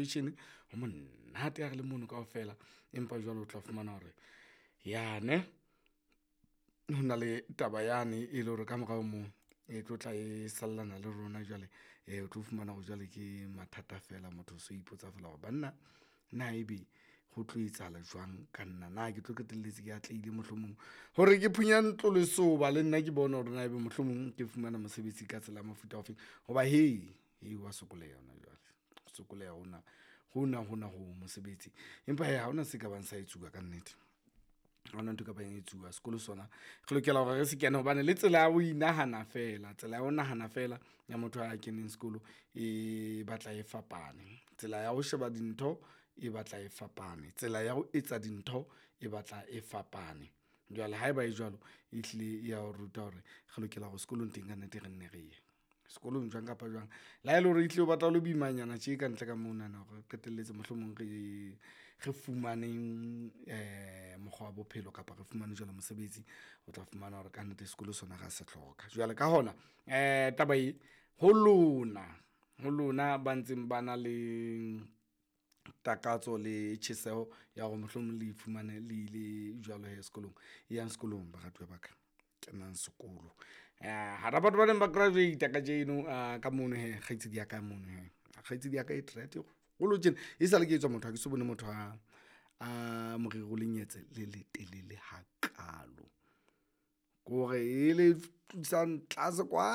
graduation ho monate ha re le mono kaofela. Empa jwale o tla fumana hore yane ho na le taba yane e le hore ka morao moo e tlo tla e sallana le rona jwale. O tlo fumana hore jwale ke mathata fela, motho o so ipotsa fela hore banna na ebe ho tlo etsahala jwang ka nna, na ke tlo qetelletse ke atlehile mohlomong hore ke phunya ntlo lesoba le nna ke bone hore na ebe mohlomong ke fumana mosebetsi ka tsela ya mofuta ofeng. Hoba he he wa sokoleha hona jwale, sokoleha hona hona hona ho mosebetsi. Empa hee ha hona se ka bang sa etsuwa kannete, ha hona ntho e ka bang etsuwa. Sekolo sona re lokela hore re se kene hobane le tsela ya ho inahana fela, tsela ya ho nahana fela ya motho a keneng sekolo e batla e fapane. Tsela ya ho sheba dintho e batla e fapane, tsela ya ho etsa dintho e batla e fapane. Jwale haeba e jwalo, ehlile ya o ruta hore re lokela hore sekolong teng kannete re nne re ye sekolong jwang kapa jwang. Le ha ele hore ehlile o batla ho le boimanyana tje ka ntle ka monana hore re qetelletse mohlomong re fumaneng mokgwa wa bophelo kapa re fumane jwale mosebetsi. O tla fumana hore kannete sekolo sona ra se hloka. Jwale ka hona taba e ho lona, ho lona ba ntseng ba na le takatso le tjheseho ya hore mohlomong le ifumane le ile jwalo he sekolong. E yang sekolong baratuwa ba ka, kenang sekolo. Hara batho ba neng ba graduate kajeno ka mono he, kgaitsedi ya ka mono he. Kgaitsedi ya ka e e kgolo tjena. E sale ke etswa motho ha ke so bone motho a moriri o lenyetse le letelele hakalo. Kore e le tlisang tlase kwa,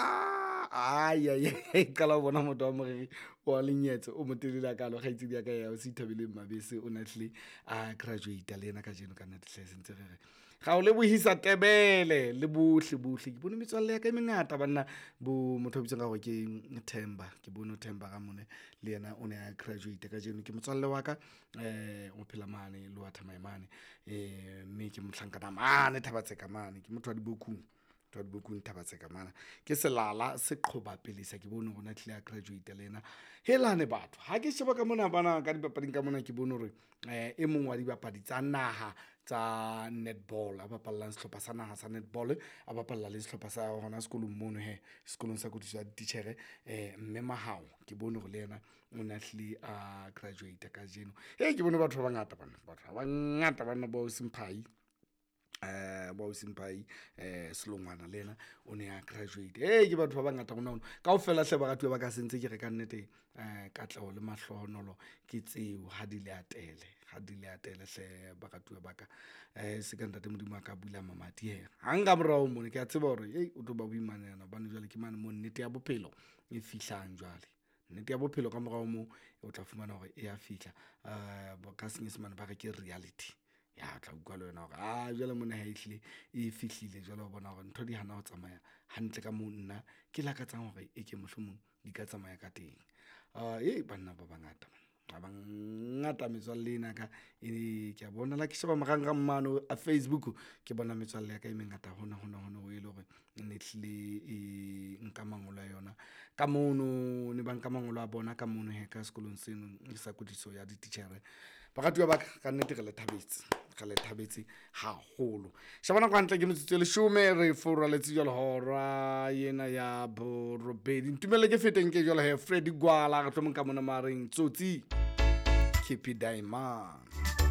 qala ho bona motho wa moriri wa lenyetse o motelele hakalo. Kgaitsedi ya ka ya o Thabeleng Mabese o na hlile a graduate le yena kajeno kannete hle sentse re re ra o lebohisa Tebele le bohle bohle. Ke bone metswalle ya ka e mengata banna, bo motho a bitswang ka hore ke Themba. Ke bone Themba Ramone le yena o ne a graduate kajeno. Ke motswalle wa ka o phela mane Lower Thamae mane, mme ke mohlankana mane Thaba-Tseka mane. Ke motho wa Dibokung, motho wa Dibokung Thaba-Tseka mane. Ke selala se qhoba pelesa. Ke bone hore o na hlile a graduate le yena. Helane batho, ha ke sheba ka mona bana ka dipapading ka mona, ke bone hore e mong wa dibapadi tsa naha tsa netball, a bapallang sehlopha sa naha sa netball, a bapalla le sehlopha sa hona sekolong mono he, sekolong sa kwetliso ya dititjhere. Mme Mahao ke bone hore le yena o na hlile a graduate kajeno. Ke bone batho ba bangata bana, batho ba bangata banna bo Semphai, bo Semphai Selongwana le yena o ne a graduate. Ke batho ba bangata hona hono kaofela hle baratuwa ba ka sentse ke re ka nnete katleho le mahlohonolo ke tseo ha di le atele, ha di le atele hle baratuwa ba ka. Se ka ntate Modimo a ka bula mamati he hang ka morao mona ke a tseba hore o tlo ba boimanyana hobane jwale ke mane mo nnete ya bophelo e fihlang jwale. Nnete ya bophelo ka morao moo o tla fumana hore e ya fihla. Ka senyesemane ba re ke reality. Ya tla utlwa le wena hore a jwale mona ha ehlile e fihlile jwale o bona hore ntho di hana ho tsamaya hantle ka moo nna ke lakatsang hore e ke mohlomong di ka tsamaya ka teng. Banna ba bangata ba bangata metswalle ena ka e ke a bona la ke sheba marangrang mane a Facebook, ke bona metswalle ya ka e mengata hona hona hona ho e le hore ne hlile e nka mangolo a yona ka mono, ne ba nka mangolo a bona ka mono he ka sekolong seno sa kwetliso ya dititjhere. Baratuwa ba ka, kannete re le thabetse, re le thabetse haholo. Sheba nako hantle ke metsotso e leshome re furaletse jwale hora ena ya borobedi. Ntumelle ke feteng ke jwale he Freddy Gwala re tlo mo nka mona mareng Tsotsi Kepi Diamond.